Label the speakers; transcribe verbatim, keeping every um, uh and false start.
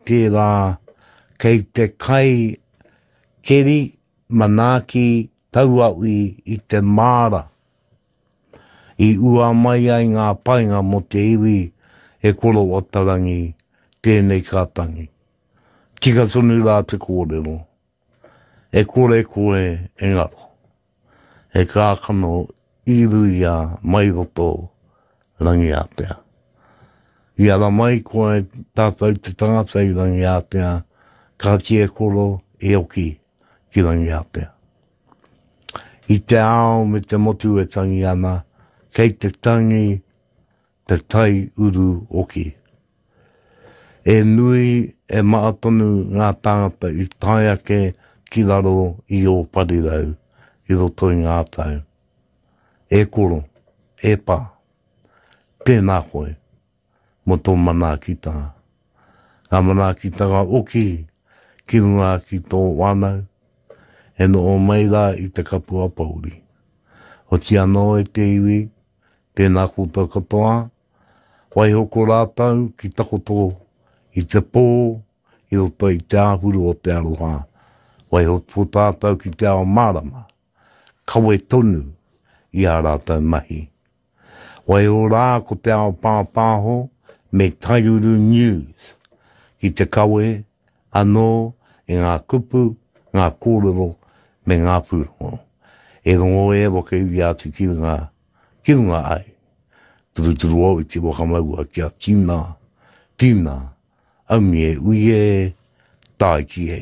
Speaker 1: tērā kei te kai keri manaaki tauawi i te māra. I ua mai ai ngā painga mō te iwi e koro watarangi tēnei ka tangi. Tika tonu rā te kōrero. E kore koe e ngaro. E kākano i ruia mai roto Rangiātea. I ara mai koe tātou te tangata i Rangiātea, ka tie koro e oki ki Rangiātea. I te ao me te motu e tangi ana, kei te tangi te tai uru oki. E nui e maa tonu ngā tāngata i tae ake ki raro i ō parirau i roto i ngā tau. E koro, e pā, tēnā koe mō tō manaakitanga. Ngā manaakitanga oki ki runga ki tō whānau, e noho mai rā i te kapua pouri. Oti anō e te iwi, tēnā koutou katoa, waiho ko rātou ki takoto i te pō, i roto i te āhuru o te aroha, waiho ko tātou ki te ao mārama, kawe tonu i ā rātou mahi. Waiho rā ko te ao pāpāho me Taiuru News ki te kawe anō i ngā kupu, ngā kōrero me ngā pūrongo. E rongo e waka iwi atu ki runga, ki runga ai. Turuturu au i te whakamaua kia tina, tina, aumi e ui e, tāiki e.